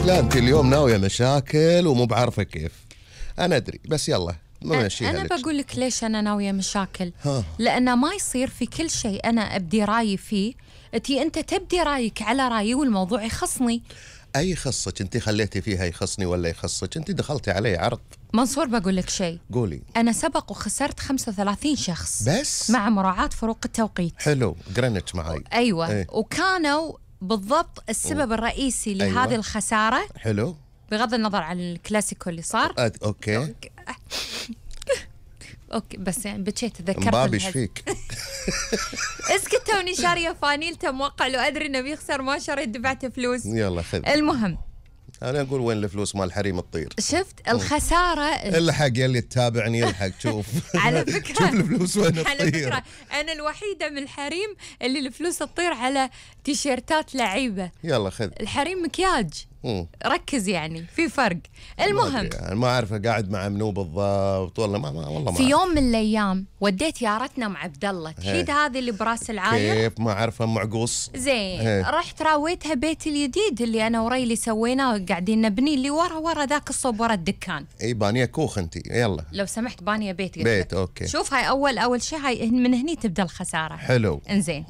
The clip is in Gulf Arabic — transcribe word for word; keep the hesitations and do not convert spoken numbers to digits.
لا أنت اليوم ناوية مشاكل ومو بعارفة كيف. أنا أدري بس يلا ماشي. أنا بقول لك ليش أنا ناوية مشاكل. ها. لأنه ما يصير في كل شيء أنا أبدي رأيي فيه تي أنت تبدي رأيك على رأيي والموضوع يخصني. أي يخصك أنت خليتي فيها يخصني ولا يخصك؟ أنت دخلتي علي عرض. منصور بقول لك شيء. قولي. أنا سبق وخسرت خمسة وثلاثين شخص بس مع مراعاة فروق التوقيت. حلو جرينتش معي. أيوة ايه. وكانوا بالضبط السبب الرئيسي لهذه أيوة. الخسارة. حلو بغض النظر عن الكلاسيكو اللي صار. أد... أوكي. أوكي. اوكي بس يعني بكيت تذكرت مبابي ايش فيك؟ اسكت توني شاريه فانيلته موقع لو ادري انه بيخسر ما شريت دفعت فلوس. يلا خذ. المهم انا اقول وين الفلوس مال الحريم تطير. شفت الخساره. الحق يلي تتابعني الحق شوف. على فكره شوف الفلوس وين تطير. على فكره انا الوحيده من الحريم اللي الفلوس تطير على تيشيرتات لعيبه. يلا خذ. الحريم مكياج. مم. ركز يعني في فرق. المهم يعني ما اعرفه قاعد مع منو بالضبط والله ما, ما والله ما في أعرف. يوم من الايام وديت يارتنا مع عبد الله تحيد هذه اللي براس العاير. كيف ما اعرفه معقوص. زين هي. رحت راويتها بيت الجديد اللي انا وريلي سويناه قاعدين نبني اللي ورا ورا ذاك الصوب ورا الدكان. اي بانيه كوخ انت يلا. لو سمحت بانيه بيت. بيت اوكي. شوف هاي اول اول شيء هاي من هني تبدا الخساره. حلو. انزين